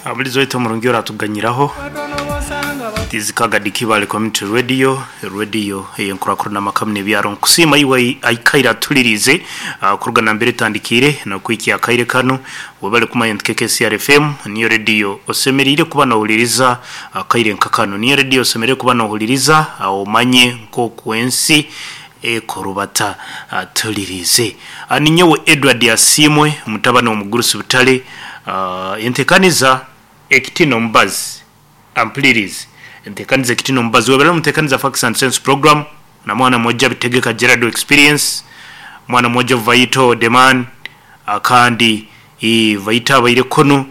Abulizo waitu omurungi oratuganyiraho. This is Kagadi Kibale Community Radio, radio ey'enkurakurana amaka muno ebyaro. Nkusiima iwe aikaire atuliriize kuruga nambere etandikiire n'okuhikya akaire kanu. Webale kumanya nti KKCR FM niyo radio osemeriire kuba nohuliriza akaire nka kanu. Niyo radio osemeriire kuba nohuliriza omanye nk'oku ensi ekorubata. Tuliriize. Ninyowe Edward Asiimwe mutabani w'omugurusi Butale. Entekaniza Ekitina Omubazi Ampulirizi Entekaniza Ekitina Omubazi Webale omutekaniza Facts and Sense Program na mwana mwojo Abitegeka Gerald Experience mwana mwojo Vital The Man akandi ii Vital abaire kunu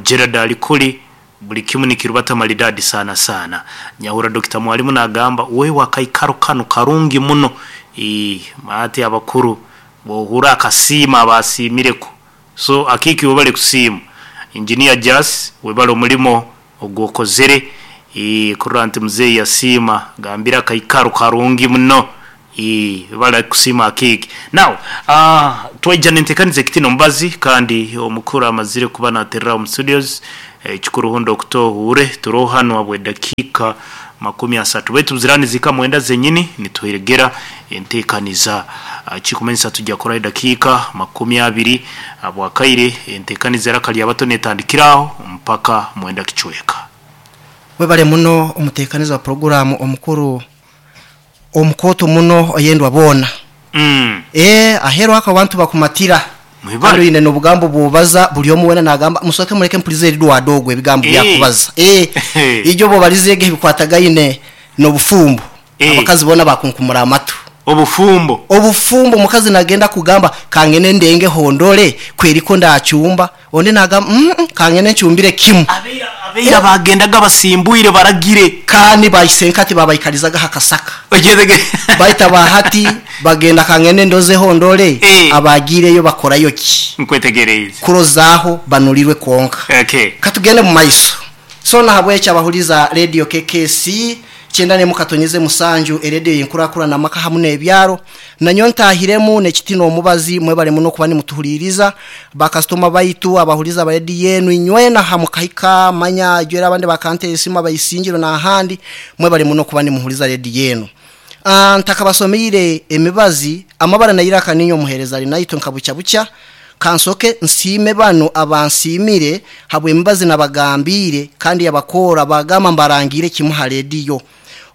Gerald ali kuli buli kimu nikirubata maridadi sana sana Nyahurra Dokita Mwalimu nagamba wewe akaikaro kanu karungi muno ii ati abakuru bwohurra akasiima aba asiimireku So akiiki webale kusiima Engineer Jas webale omulimo ogwokozere eeh kurora nti muzeyi yasiima gambire akaikaro karungi muno eeh webale kusiima akiiki. Now aah twaija nentekaniza ekitina omubazi kandi omukuru amazire kuba naterera omu studios ekikuru hundi okutohuure turoho hanu habwedakiika 30 baitu ziraba nizihika mwenda zenyini nituheregera Enteekaniza. Ekikumanyisa tugya kuraho edakiika 20 habw'akaire enteekaniza eraka lyabato netandikira aho mpaka mwenda kicweka. Webale muno omuteekaniza wa puroguraamu omukuru omukooto muno oyendwa boona. Eeh aheeru ako abantu bakumatira kandi Mwebale. oine n'obugambo bw'obaza buli omu weena naagamba musooke muleke mpulize Edward ogu ebigambo byakubaza. Eeh ijo bw'obalizeege ebikwatagaine n'obufumbo. Abakazi boona baakunkumura amatu. Obufumbo. Obufumbo omukazi naagenda kugamba, Kangende ndengeho ndore ku eriko ndaacumba. Ondi naagamba, Umm, kangende ncumbire kimu. Abaira baagendaga basimbwire baragire. Kandi baisenkati baabaikarizaga aha kasaka. Baitu aba hati bagenda kangende ndozeho ndore abaagiireyo bakorayo ki. Kurozaaho banurirwe kwonka. Ka tugende mu maiso. So nahabwekyo abahuliza Radio KKC kyenda nemu katonyeze musanju erediyo yenkurakurana amaka hamu nebyaro nanyowe ntahiremu nekitina omubazi mwebale muno kuba nimutuhuliriza ba kasitoma baitu abahuliza ba rediyo enu inywena hamukahika manya ijwera abandi bakantera esimu abaisingiro nahandi mwebale muno kuba nimuhuliza rediyo enu Ntakabasomeire emibazi, amabara na iraka niinye omuheereza Arinaitwe nka bukya bukya. Kansoke nsiime banu abansiimire habw'emibazi nabagambiire kandi yabakoora baagamba mbarangiire kimu ha rediyo.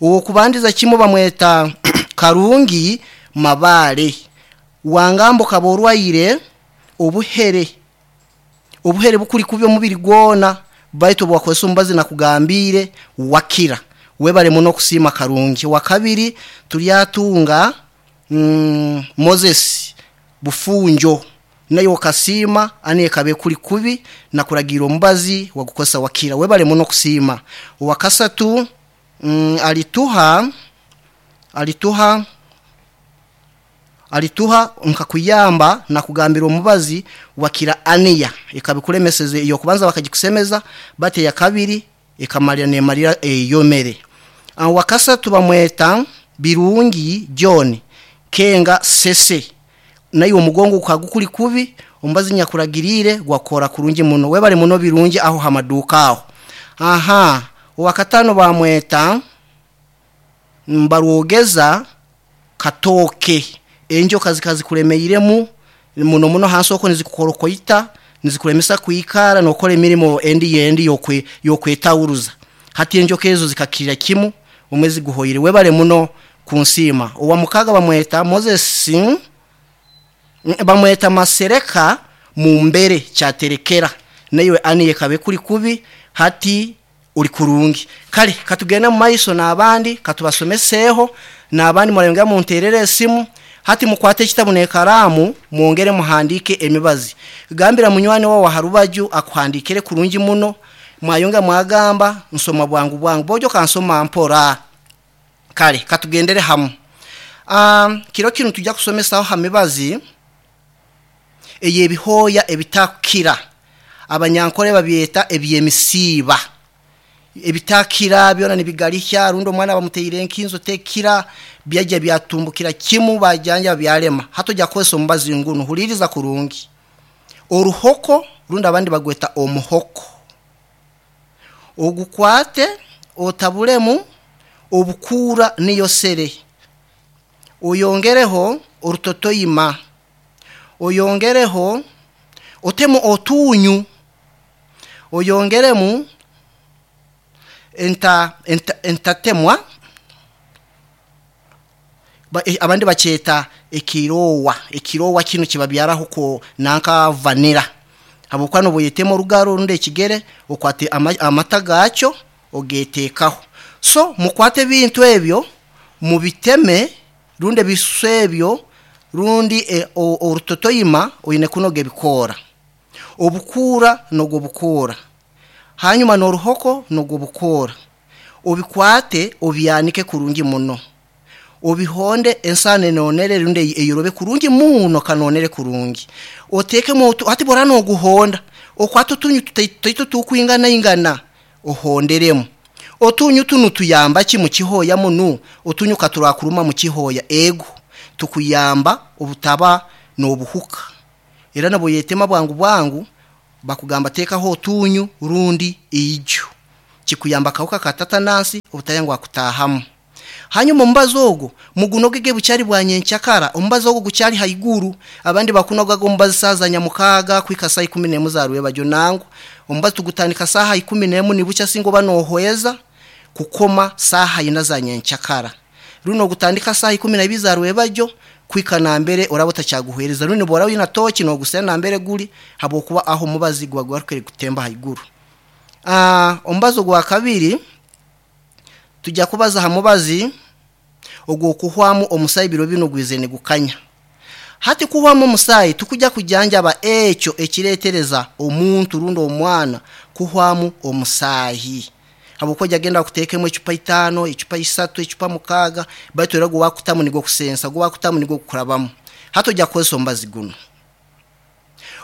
Ow'okubandiza kimu bamweta Karungi Mabaale. Wangamba okaba orwaire obuhere. Obuhere bukuri kubi omubiri gwona baitu obu wakozesa omubazi nakugambiire wakira. Webare muno kusiima Karungi. Owakabiri turyatunga Moses Bufunjo naiwe okasiima ani ekaba ekuri kubi nakuragiira omubazi wagukozesa wakira. Webare muno kusiima. Owakasatu Alituha Alituha Alituha nkakuyamba nakugambira omubazi wakira aniya ekabikuremeseze eyokubanza bakagikusemeza bati eyakabiri ekamarira nemarira eyomere. Owakasatu bamweta Birungi John Kenga Sese naiwe omugongo gukaba gukuri kubi omubazi nyakuragirire gwakora kurungi muno webare muno Birungi aho hamaduuka aho. Ahaa owakatano bamweta Mbarwogeza Katooke, enjoka zikaba zikuremeiremu muno muno hansi okwo nizikukorokoita, nizikuremesa kwikara nokora emirimo endi endi y'okwetawuruza. Hati enjoka ezo zikakirira kimu omwezi guhoire. Webare muno kunsiima. Owa mukaga bamweta Moses, bamweta Masereka Mumbere Kyaterekera. Naiwe Annie ekaba ekuri kubi hati Ori kurungi. Kare ka tugende omu maiso n'abandi, ka tubasomeseho n'abandi murayongera munteerere esimu. Hati mukwate ekitabu n'ekaraamu mwongere muhandiike emibazi. Gambira munywani waawe aha rubaju akuhandiikire kurungi muno. Mwayongera mwagamba, Nsoma bwangu bwangu. Boojo kansoma mpora. Kare ka tugendere hamu. Kiro kinu nitwija kusomesaho aha mibazi ey'ebihooya ebitakukira. Abanyankore babyeta eby'emisiiba. Ebitakira byona nibigarihya rundi omwana bamuteire enkinzo tekira byajya byatumbukira kimu bajanja byarema. Hati ojya kukozesa omubazi ngunu, huliiriza kurungi. Oruhoko rundi abandi bagweta omuhoko. Ogukwate otabulemu obukuura niyo sere, oyongereho orutotoyima, oyongereho otemu otunyu, oyongeremu entatemwa, abandi bakyeta ekirowa. Ekirowa kinu kibabyaraho ko nanka vanilla, habwokuba noba oyetema orugaro rundi ekigere, okwate amata gakyo ogeteekaho. So mukwate ebintu ebyo mubiteme, rundi ebisusu ebyo rundi orutotoyima, oine kunoga ebikoora, obukuura noga obukoora, hanyuma n'oruhoko noga obukoora, obikwate obyanike kurungi muno, obihonde ensaano enonere rundi eyorobe kurungi muno, kanonere kurungi, otekemu. Hati bworaba noguhonda, okwate otunyu tutaito tukwingana ingana, ohonderemu otunyu tunu. Tuyamba ki mukihoya munu? Otunyu katurakuruma mukihoya, ego tukuyamba obutaba nobuhuka, era nabwoyetema bwangu bwangu bakugamba tekaho otunyu rundi ijo, kikuyamba akahuka ka tatanansi obutayangwa kutahamu. Hanyuma omubazi ogwo mugunogege bukyari bwa nyenkyakara, omubazi ogwo gukyari haiguru. Abandi bakunogaga omubazi saaha za nyamukaaga kuhika saa 11 za rwebagyo. Nangwa omubazi tugutandika saaha 11 nibukya, singa oba nohweza kukoma saaha 4 za nyenkyakara, rundi nogutandika saaha 12 za rwebagyo kuhika nambere oraba otakyaguhwereza, rundi bworaba oine toki nogusera nambere guri, habwokuba aho omubazi guba gwarukire kutemba haiguru. Omubazi ogwa kabiri, tujya kubaza ha mubazi ogw'okuhwamu omusaayi. Biro binu gwize nigukanya. Hati kuhwamu omusaayi, tukujya kujanjaba ekyo ekireetereza omuntu rundi omwana kuhwamu omusaahi, habwokuba ojya genda bakuteekemu ecupa 5, ecupa 3, ecupa 6, baitu era ogwakutamu nigwo kusensa, ogwakutamu nigwo kukurabamu. Hati ojya kukozesa omubazi guno.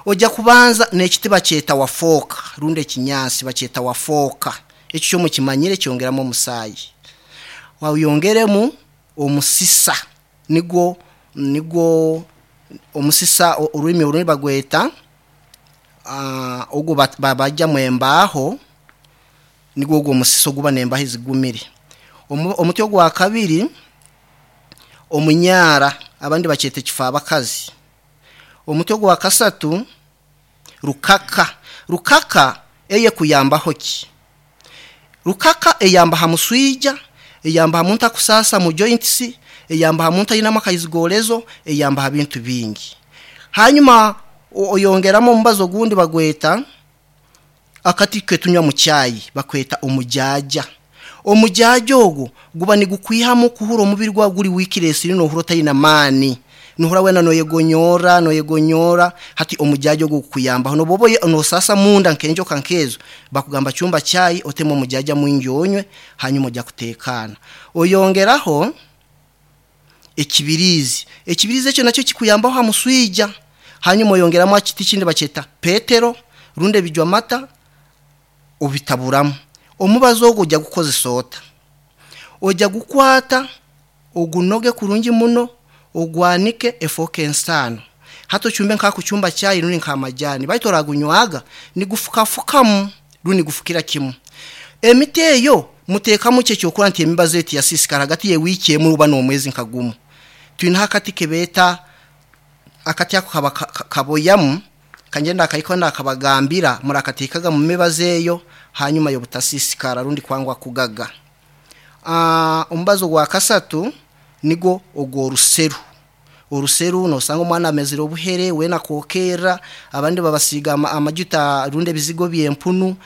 Ojya kubanza n'ekiti bakyeta wafooka, rundi ekinyansi bakyeta wafooka, ekyo kyo mukimanyire, kyongeramu omusaayi. Oyongeremu omusisa, nigwo omusisa, orurimi orundi bagweta ogu bajjamu embaaho, nigwo ogwo omusisa oguba n'embaaho ezigumire. Omuti ogwa kabiri, omunyaara, abandi bakyeta ekifaabakazi. Omuti ogwa kasatu, rukaka. Rukaka eyo ekuyambaho ki? Rukaka eyamba ha muswija, eyamba ha muntu akusaasa mu joints, eyamba ha muntu ainemu akaizigolezo, eyamba ha bintu bingi. Hanyuma oyongeramu omubazi ogundi bagweta akati ketunywa mu chai, bakweta omujaaja. Omujaaja ogwo guba nigukwihamu kuhura omubiri gwawe guri weakness, nohura otaine amaani, nohura weena noyegonyora noyegonyora. Hati omujaaja ogwo gukuyambaho noba nosasa munda nk'enjoka nkezo, bakugamba chumba chai otemu omujaaja mwingi onywe, hanyuma ojya kutekana. Oyongeraho ekibirizi. Ekibirizi ekyo nakyo kikuyambaho ha muswija. Hanyuma oyongeramu ekiti kindi bakyeta petero rundi ebijwa mata, obitaburamu. Omubazi ogwo ojya gukozesa ota? Ojya gukwata ogunoge kurungi muno, ogwanike efooke ensaano. Hati ochumbe nkakuchumba chai rundi nk'amajani, baitu oragunywaga nigufukafukamu rundi nigufukira kimu. Emiti eyo muteekamu ki ekyokurora nti emibazi eti yasiisikara hagati y'ewiiki emu oba n'omwezi nka gumu. Twinaho akati kebeeta akati ako kaba kaboyamu, kangenda akahikaho nakabagambira, murakateekaga mu mibazi eyo hanyuma y'obutasiisikara rundi kwangwa kugaga. Omubazi ogwa kasatu nigwo ogw'oruseru. Oruseru nosanga omwana amezire obuhere, weena akookerra, abandi babasiiga amajuta rundi ebizigo by'empunu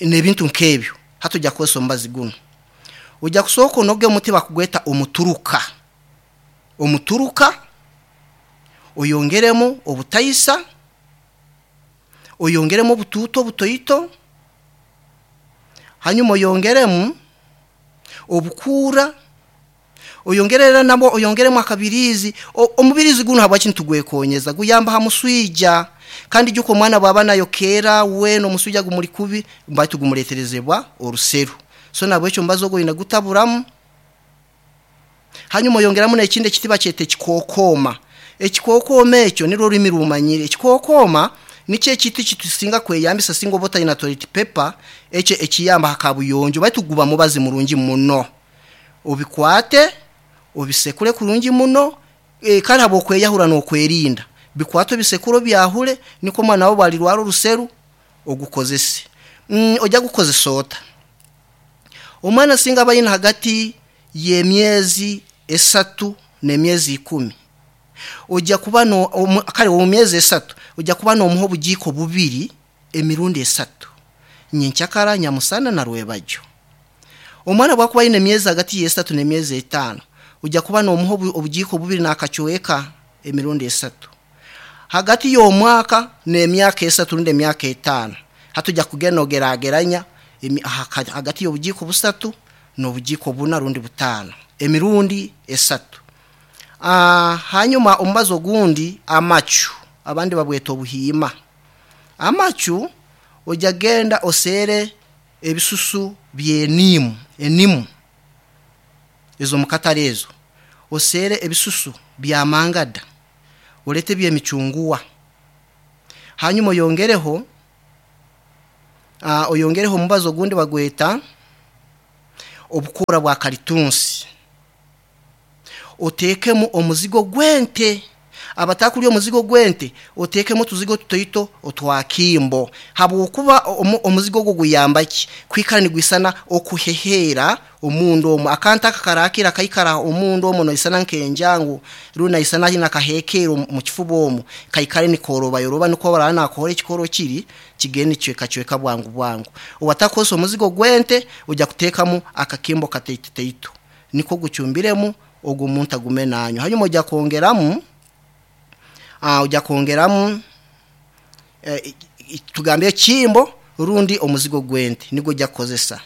n'ebintu nk'ebyo. Hati ojya kukozesa omubazi gunu. Ojya kusooka onoge omuti bakugweta omuturuka. Omuturuka oyongeremu obutaisa, oyongeremu obutuuto obutoito, hanyuma oyongeremu obukuura, oyongere era nabwo oyongeremu akabiriizi. Omubiriizi gunu habwaki nitugwekonyeza? Guyamba ha muswija, kandi ijuka omwana bwaba nayokeera weena omuswija gumuri kubi, baitu gumuleeterezebwa oruseru. So nahabwekyo omubazi ogwo oine gutaburamu. Hanyuma oyongeramu n'ekindi ekiti bakyeta ekikookooma. Ekikookooma ekyo nirwo orurimi rumanyire. Ekikookooma. Nikyo ekintu ekitusinga kweyambisa singa oba otaine toilet paper, ekyo ekiyamba aha kabuyonjo baitu guba mubazi murungi muno. Obikwate, obisekure kurungi muno, kare habw'okweyahura n'okwerinda, bikwate obisekure obyahure nikwo omwana waawe obu arirwara oruseru ogukozese. Oija gukozesa ota? Omwana singa aba aine hagati y'emyezi esatu n'emyezi ikumi, oija kuba no, kare omu myezi esatu oija kuba n'omuha obugiiko bubiri emirundi esatu, nyenkyakara, nyamusana na rwebagyo. Omwana obu akuba aine emyezi hagati y'esatu n'emyezi etaano, oija kuba n'omuha obugiiko bubiri n'akacweka emirundi esatu. Hagati y'omwaka n'emyaka esatu rundi emyaka etaano, hati oija kugenda noogerageranya hagati y'obugiiko busatu n'obugiiko buna rundi butaano emirundi esatu. Hanyuma omubazi ogundi amacu, abandi babweta obuhiima. Amacu oija genda oseere ebisusu by'eniimu, enimu ez'omu katare ezo, oseere ebisusu bya mangada, orete eby'emicunguwa, hanyuma oyongereho oyongereho omubazi ogundi bagweta obukoora bwa karitunsi. Oteekemu omuzigo gw'ente. Abatakurya omuzigo gw'ente, oteekemu otuzigo tutoito otwa kimbo. Habw'okuba omuzigo ogwo guyamba ki? Kwikara nigwisana okuheheera omunda omwo. Akantu ako karakira kaikara omunda omwo noisana nk'enjangu rundi naisana haine akaheekeera omu kifuba omwo, kaikare nikoorobayoroba nikwo obu araaba naakohora ekikohoro kiri, kigende nikicwekacweka bwangu bwangu. Owatakukozesa omuzigo gw'ente, oija kuteekamu akakimbo kataitotaito nikwo ogucumbiremu ogwo omuntu agume nanywa. Hanyuma oija kwongeramu, oija kwongeramu tugambe ekimbo rundi omuzigo gw'ente nigwo oija kukozesa.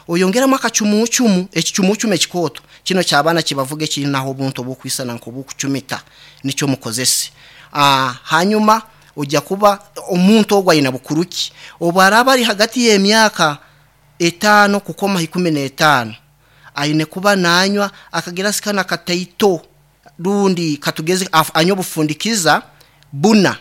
Oyongeremu akacumuucumu, ekicumuucumu ekikooto kinu eky'abaana kibavuga ekirinaho obuntu obukwisana nk'obukucumita nikyo mukozese. Hanyuma oija kuba omuntu ogu aine bukuru ki? Obu araaba ari hagati y'emyaka etaano kukoma ha ikumi n'etaano, aine kuba nanywa akagirasi kanu akataito rundi katugeze anywe obufundikiza buna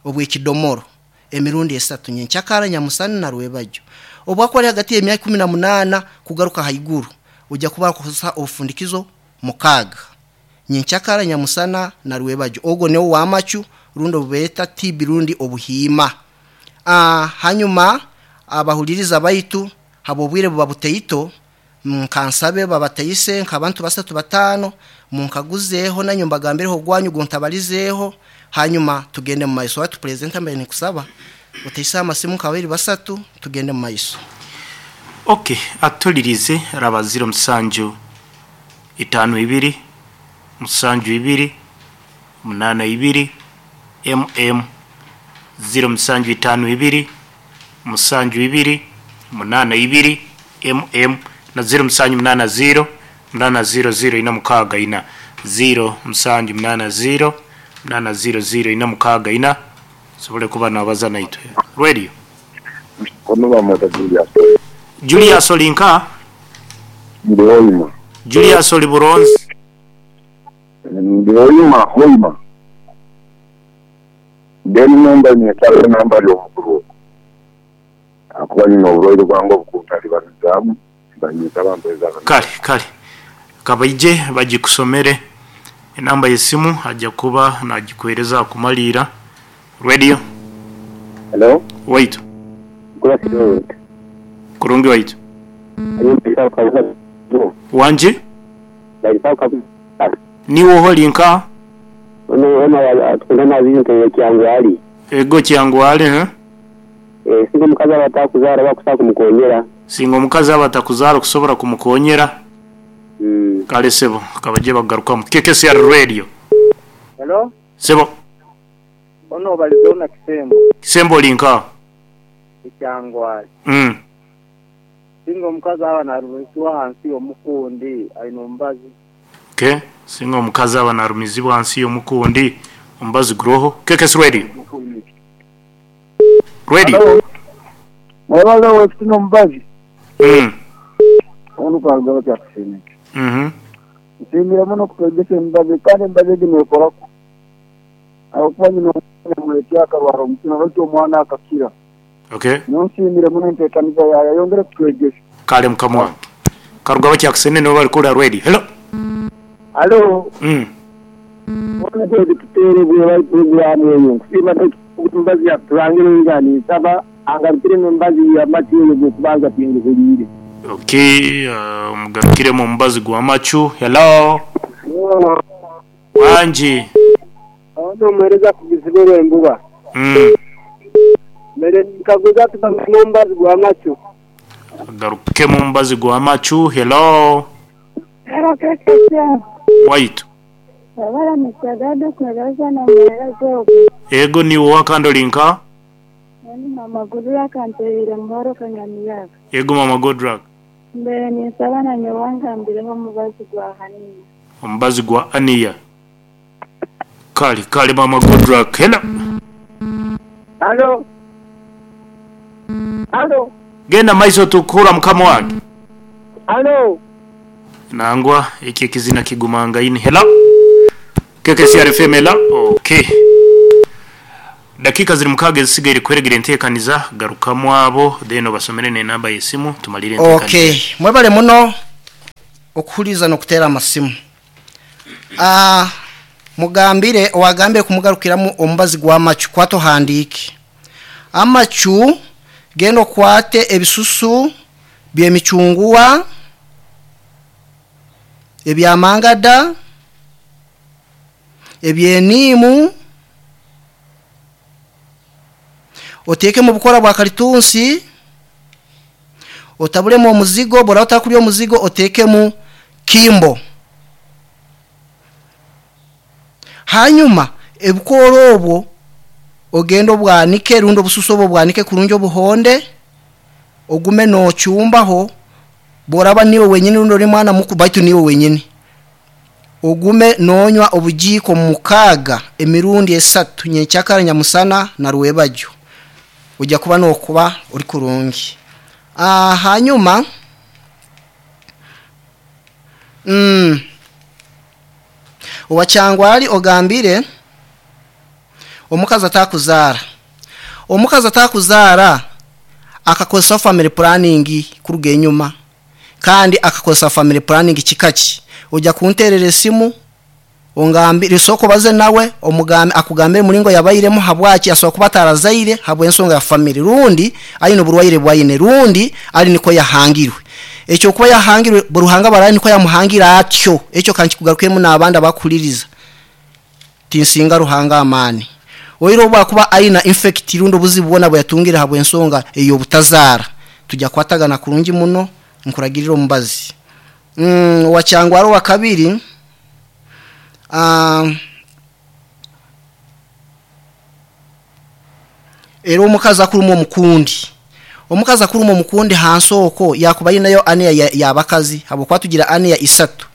obw'ekidomoro emirundi esatu, nyenkyakara, nyamusana na rwebagyo. Obu akuba ari hagati y'emyaka 18 kugaruka haiguru, oija kuba orikukozesa obufundikizo mukaaga, nyenkyakara, nyamusana na rwebagyo. Ogwo niwo w'amacu rundi obu beeta TB rundi obuhiima. Hanyuma abahuliriza baitu habw'obwire buba butaito, nkansabe babataise nk'abantu basatu bataano, munkaguzeeho nanye mbagambireho ogwanyu ogu ntabalizeeho, hanyuma tugende mu maiso. Hati purezidenti mbaire ninkusaba otaise amasimu nka babiri basatu tugende mu maiso. Ok, atulirize raba ziro musanju itaano ibiri musanju ibiri munaana ibiri MM ziro musanju itaano ibiri musanju ibiri munaana ibiri MM na ziro musanju munaana ziro munaana ziro ziro ina mukaaga ina ziro musanju munaana ziro munaana ziro ziro ina mukaaga ina osobole kuba nabaza naitwe. Radio. Ono bamweta Julius. Julius oli nka? Ndi Hoima. Julius oli Buronzi? Ndi Hoima, Hoima. Then number nyetaaga enamba y'omukulu ogwo ahakuba nyine oburwaire bwange obukuntalibanizamu nibanyeta bampereza Kale, kale. Ka baije bagikusomere. Enamba y'esimu aja kuba nagikuhereza akumaliira. Radio. Hello. Waitu. Nkurasire ota? Kurungi waitu. Wangi? Niiwe oha oli nka? Ono ona atukunda nabi nte Kyangwali. Ego Kyangwali huh? Eh, singa omukazi aba atakuzaara bakusobola kumukonyera. Singa omukazi aba atakuzaara okusobora kumukonyera. Kale sebo, kabaje bagarukamu. KKCR Radio. Hello. Sebo. Ono obalize ona Kisembo. Kisembo oli nka? E Kyangwali. Singa omukazi aba narumizibwa ahansi yomukundi aine omubazi. Ok, singa omukazi aba narumizibwa ahansi yomukundi omubazi guroho. KKS Radio. Radio. Mwebaze owekitino omubazi. Onu kwaruga batya kusiimika. Nsiimire muno okutwegyesa emibazi kandi emibazi egi nekoraku ahabw'okuba nyine omwana. Leti akarwara omutima baitu omwana akakira. Okay. Nyowe nsiimire muno enteekaniza yaayo ayongere kutwegesa. Kale mukama wange. Karuga abakyakusene nibo bari kuhurira radio. Hello. Halo. Bona twezi tuteerebwe bari puroguraamu eyo. Nkusiima baitu omubazi yakuturangire nga ninsaba angarukiremu omubazi y'amacu eyo ogw'okubanza tinguhuliire. Okay, omugarukiremu omubazi gw'amacu. Hello. Wangi. Ono omuhereza akugizibwe Rwembuba. Mbere ninkaguza tugarukemu omubazi gw'amacu. Agarukemu omubazi gw'amacu. Hello. Hello KKCM. Waitu. Webale Mister Gado kuhereza n'omuhereza ogwo. Ego niiwe owa kandi ori nka? Nyowe ni Mama Goodluck ntereire Muhoro Kanyamiyaga. Ego Mama Goodluck. Mbaire ninsaba na nyowe angambireho omubazi gwa Aniya. Omubazi gwa Aniya. Kale kale Mama Goodluck. Hello. Halo. Halo. Genda maiso tukuhurra mukama wange. Halo. Nangwa ekyo ekizina kigumangaine. Hello. KKCR FM hello. Okay. Dakiika ziri mukaaga ezisigaire kuheregera enteekaniza, garukamu abo then obasomere n'enamba y'esimu tumalire enteekaniza. Okay, mwebale muno okuhuriza n'okuteera amasimu. Ah, mugambire owagambire kumugarukiramu omubazi gw'amacu kwata ohandiike. Amacu genda okwate ebisusu by'emicunguwa, ebyamangada, eby'eniimu, oteekemu obukora bwa karitunsi, otabulemu omuzigo, bworaba otakurya omuzigo oteekemu kimbo. Hanyuma ebikoora obwo ogende obwanike rundi obususu obwo obwanike kurungi obuhonde, ogume noocumbaho, bworaba niiwe wenyini rundi ori mwana mukuru baitu niiwe wenyini, ogume noonywa obugiiko mukaaga emirundi esatu nyenkyakara, nyamusana na rwebagyo. Oija kuba nookuba ori kurungi. Hanyuma owa Kyangwali ogambire omukazi atakuzaara. Omukazi atakuzaara akakozesa family planning kuruga enyuma kandi akakozesa family planning kika ki? Oija kunteerera esimu ongambire, sooka obaze nawe omugambe akugambire omuringo yabairemu habwaki asobora kuba atarazaire habw'ensonga ya family rundi aine oburwaire obu aine rundi ari nikwo yahangirwe. Ekyo kuba yahangirwe Ruhanga aba nikwo yamuhangire atyo. Ekyo ka nkikugarukemu n'abandi abakuhuririza. Tinsinga Ruhanga amaani. Oihireho obu akuba aine infect rundi obuzibu bwona obu yatungire habw'ensonga ey'obutazaara, tugya kukwatagana kurungi muno nkuragirire omubazi. Owa Kyangwara owa kabiri, era omukazi akurumwa omukundi. Omukazi akurumwa omukundi hansi okwo yaakuba aineyo aniya y'abakazi habw'okuba tugira aniya isatu,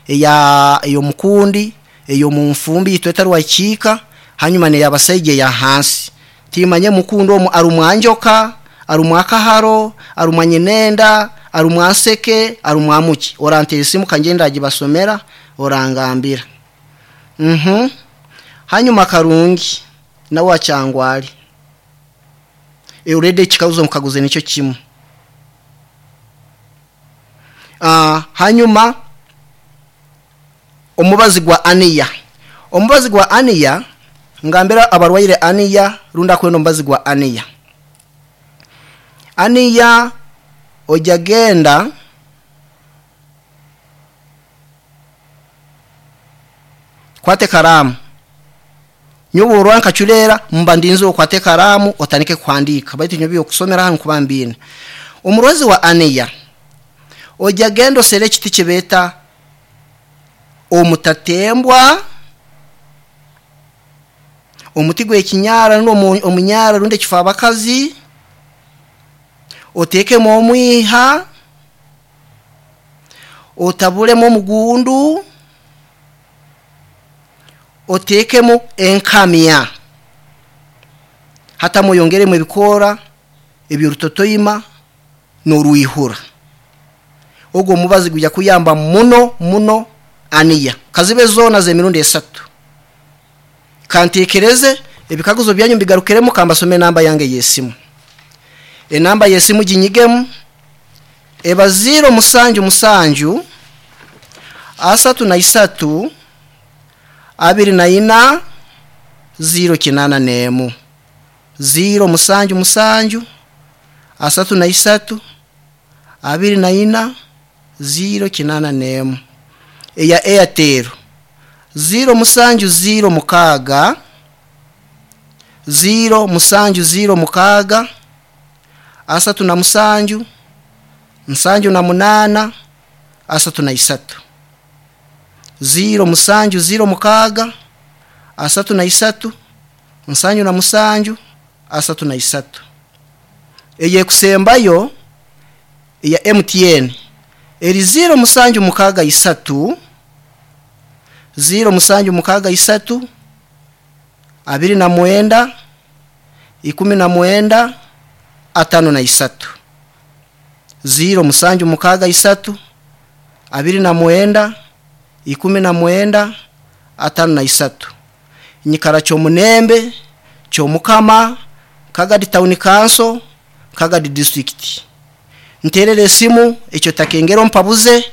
eya ey'omukundi, ey'omu nfumbi itwe etari wakiika, hanyuma n'ey'abasaija eya hansi. Timanya omukundi omu arumwa njoka, arumwa akaharo, arumwa nyinenda, arumwa nseke, arumwa muki. Oranteera esimu kangye ndagibasomera, orangambira. Uhmm. Hanyuma Karungi nawe owa Kyangwali. Already ekikaguzo mukaguze nikyo kimu. Hanyuma omubazi gwa aniya. Omubazi gwa aniya, ngambira abarwaire aniya rundi akwenda omubazi gwa aniya. Aniya oija genda kwata ekaraamu. Nyowe bworora nkacureera mba ndinzire okwate ekaraamu otandike kuhandiika baitu nyowe eby'okusomera hanu nkuba mbiine. Omurwazi wa aniya, oija genda osere ekiti kibeeta omutatembwa, omuti gw'ekinyaara rundi omunyaara rundi ekifaabakazi, oteekemu omwiha, otabulemu omugundu, oteekemu enkamya. Hatamu oyongeremu ebikoora eby'orutotoima n'orwihura. Ogu omubazi gwija kuyamba muno muno aniya. Kazibe zoona z'emirundi esatu. Kanteekereze Ebikaguzo byanyu mbigarukiremu kambasome enamba yange y'esimu. Enamba y'esimu ginyigemu eba 0 musanju musanju 33 24 081 0 musanju musanju 33 24 081 eya Airtel 0 musanju 0 mukaaga 0 musanju 0 mukaaga 37 78 33 0 musanju 0 mukaaga 33 77 33 eyekusembayo eya MTN eri 0 musanju mukaaga 3 0 musanju mukaaga 3 29 19 53 0 musanju mukaaga 3 29 19 53 nyikara kyomunembe kyomukama Kagadi Town Council, Kagadi District. Nterere esimu ekyo takengero mpabuze.